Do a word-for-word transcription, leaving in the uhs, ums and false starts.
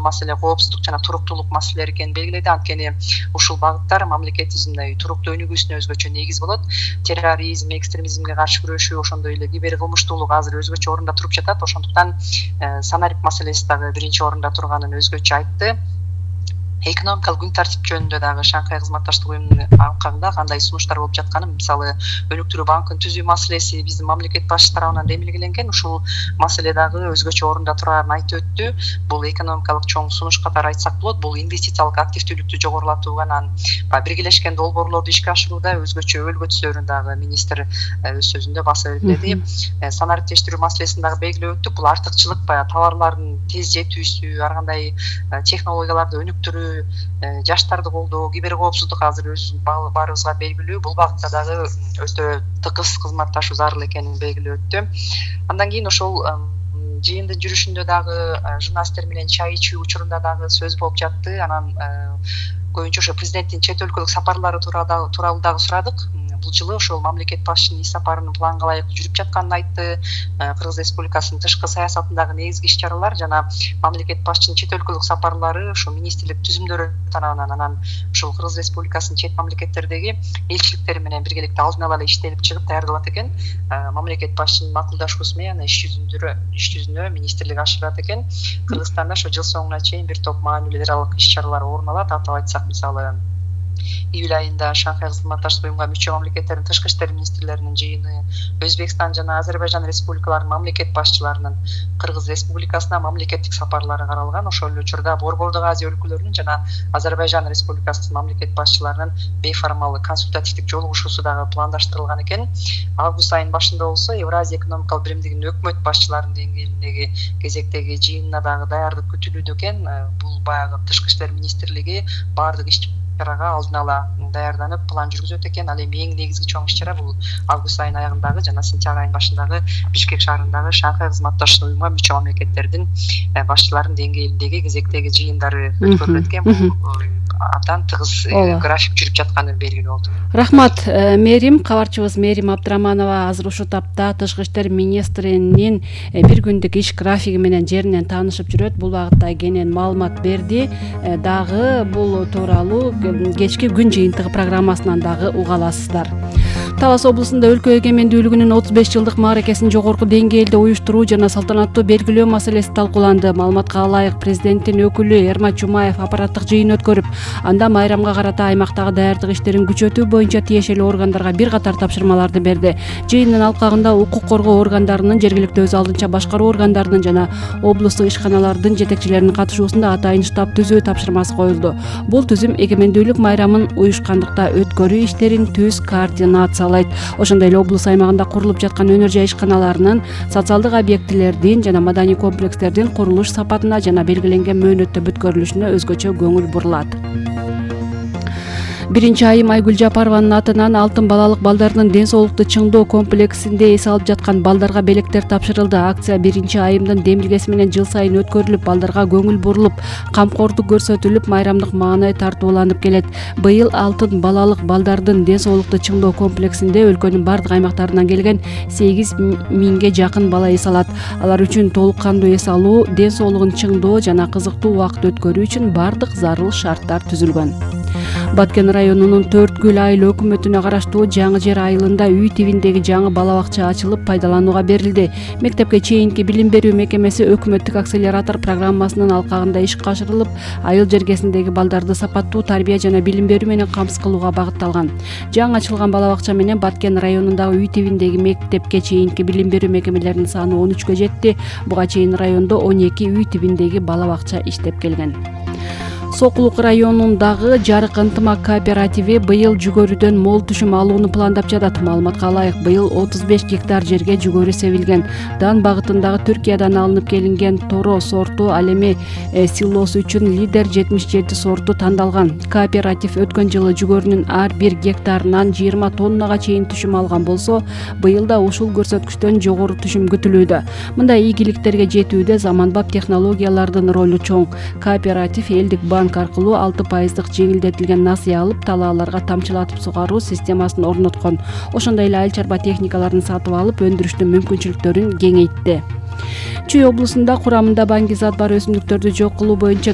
маселе коопсуздук жана туруктуулук маселелери экенин белгиледи. Анткени ушул багыттар мамлекетибиздин мындай туруктуу өнүгүүсүнө өзгөчө негиз болот. Терроризм, экстремизмге каршы күрөшүү, ошондой эле кибер кылмыштуулук азыр өзгөчө орунда туруп жатат. Ошондуктан санарип маселеси дагы биринчи орунда турганын өзгөчө айтты. Экономикалык күн тартип жөнүндө дагы Шанхай кызматташтык уюмунун алкагында кандай сунуштар болуп жатканын, мисалы өнүктүрүү банкын түзүү маселеси биздин мамлекет башчы тарабынан демилгеленген. Ушул маселе дагы өзгөчө орунда турарын айтып өттү. Бул экономикалык чоң сунуш катары айтсак болот. Бул инвестициялык активдүүлүктү жогорулатуу анан биргелешкен долбоорлорду ишке ашырууда өзгөчө өлгө түсөрүн дагы министр өз сөзүндө басып белгиледи. Санариптештирүү маселесин дагы белгилеп өттүк. Бул артыкчылык баягы товарлардын тез жетүүсү, ар кандай технологияларды өнүктүрүү, жаштарды колдоо, кибер коопсуздук азыр өз баарыбызга белгилүү. Бул багытта дагы өтө тыгыз кызматташуу зарыл экенин белгилеп өттү. Андан кийин ошол жыйындын жүрүшүндө дагы журналисттер менен чай ичүү учурунда дагы сөз болуп жатты. Анан көбүнчө ошо президенттин чет өлкөлүк сапарлары тууралуу дагы сурадык. Бул жылы ошол мамлекет башчынын иш сапарынын планга ылайык жүрүп жатканын айтты. Кыргыз Республикасынын тышкы саясатындагы негизги иш чаралар жана мамлекет башчынын чет өлкөлүк сапарлары ошо министрлик түзүмдөрү тарабынан, анан ошол Кыргыз Республикасынын чет мамлекеттердеги элчиликтери менен биргеликте алдын ала эле иштелип чыгып даярдалат экен. Мамлекет башчынын макулдашуусу менен иш жүзүндө иш жүзүнө министрлик ашырат экен. Кыргызстанда ошо жыл соңуна чейин бир топ маанилүү эл аралык иш чаралар орун алат. Атап айтсак, мисалы июль айында Шанхай кызматташтык уюмуна мүчө мамлекеттердин тышкы иштер министрлеринин жыйыны, Өзбекстан жана Азербайжан республикаларынын мамлекет башчыларынын Кыргыз Республикасына мамлекеттик сапарлары каралган. Ошол эле учурда Борбордук Азия өлкөлөрүнүн жана Азербайжан Республикасынын мамлекет башчыларынын бейформалдык консультативдик жолугушуусу дагы пландаштырылган экен. Август айынын башында болсо Евразия экономикалык биримдигинин өкмөт башчыларынын деңгээлиндеги кезектеги жыйынына дагы даярдык күтүлүүдө экен. Бул баягы тышкы иштер министрлиги баардык иш чарага алдын ала даярданып план жүргүзөт экен. Ал эми эң негизги чоң иш чара бул август айынын аягындагы жана сентябрь айынын башындагы Бишкек шаарындагы Шанхай кызматташтык уюмуна мүчө мамлекеттердин башчыларынын деңгээлиндеги кезектеги жыйындары өткөрүлөт экен. Бул абдан тыгыз график жүрүп жатканы белгилүү болду. Рахмат, мэрим. Кабарчыбыз Мээрим Абдыраманова азыр ушул тапта тышкы иштер министринин бир күндүк иш графиги менен жеринен таанышып жүрөт. Бул багытта кенен маалымат берди. Дагы бул тууралуу кечки күн жыйынтыгы программасынан дагы уга аласыздар. Талас облусунда өлкө эгемендүүлүгүнүн отуз беш жылдык мааракесин жогорку деңгээлде уюштуруу жана салтанаттуу белгилөө маселеси талкууланды. Маалыматка ылайык, президенттин өкүлү Эрмат Жумаев аппараттык жыйын өткөрүп, анда майрамга карата аймактагы даярдык иштерин күчөтүү боюнча тиешелүү органдарга бир катар тапшырмаларды берди. Жыйындын алкагында укук коргоо органдарынын, жергиликтүү өз алдынча башкаруу органдарынын жана облустук ишканалардын жетекчилеринин катышуусунда атайын штаб түзүү тапшырмасы коюлду. Бул түзүм эгемендүүлүк майрамын уюшкандыкта өткөрүү иштерин түз координациялайт. Ошондой эле облус аймагында курулуп жаткан өнөр жай ишканаларынын, социалдык объектилердин жана маданий комплекстердин курулуш сапатына жана белгиленген мөөнөттө бүткөрүлүшүнө өзгөчө көңүл бурулат. Биринчи айым Айгүл Жапарованын атынан алтын балалык балдардын ден соолукту чыңдоо комплексинде эс алып жаткан балдарга белектер тапшырылды. Акция биринчи айымдын демилгеси менен жыл сайын өткөрүлүп, балдарга көңүл бурулуп, камкордук көрсөтүлүп, майрамдык маанай тартууланып келет. Быйыл алтын балалык балдардын ден соолукту чыңдоо комплексинде өлкөнүн бардык аймактарынан келген сегиз миңге жакын бала эс алат. Алар үчүн толук кандуу эс алуу, ден соолугун чыңдоо жана кызыктуу убакыт өткөрүү үчүн бардык зарыл шарттар түзүлгөн. Баткен районунун төрт гүл айыл өкмөтүнө караштуу Жаңы Жер айылында үй тибиндеги жаңы бала бакча ачылып пайдаланууга берилди. Мектепке чейинки билим берүү мекемеси өкмөттүк акселератор программасынын алкагында ишке ашырылып, айыл жергесиндеги балдарды сапаттуу тарбия жана билим берүү менен камсыз кылууга багытталган. Жаңы ачылган бала бакча менен Баткен районундагы үй тибиндеги мектепке чейинки билим берүү мекемелеринин саны он үчкө жетти. Буга чейин райондо он эки үй тибиндеги бала бакча иштеп келген. Сокулук районундагы Жарык ынтымак кооперативи быйыл жүгөрүдөн мол түшүм алууну пландап жатат. Маалыматка ылайык, быйыл отуз беш гектар жерге жүгөрү себилген. Дан багытындагы Түркиядан алынып келинген Торо сорту, ал эми силосу үчүн Лидер жетимиш жети сорту тандалган. Кооператив өткөн жылы жүгөрүнүн ар бир гектарынан жыйырма тоннага чейин түшүм алган болсо, быйыл да ушул көрсөткүчтөн жогору түшүм күтүлүүдө. Мындай ийгиликтерге жетүүдө заманбап технологиялардын ролу чоң. Кооператив элдик банк банк аркылуу алты пайыздык жеңилдетилген насыя алып, талааларга тамчылатып сугаруу системасын орноткон. Ошондой эле айыл чарба техникаларын сатып алып, өндүрүштүн мүмкүнчүлүктөрүн кеңейтти. Чүй облусунда курамында баңги зат бар өсүмдүктөрдү жок кылуу боюнча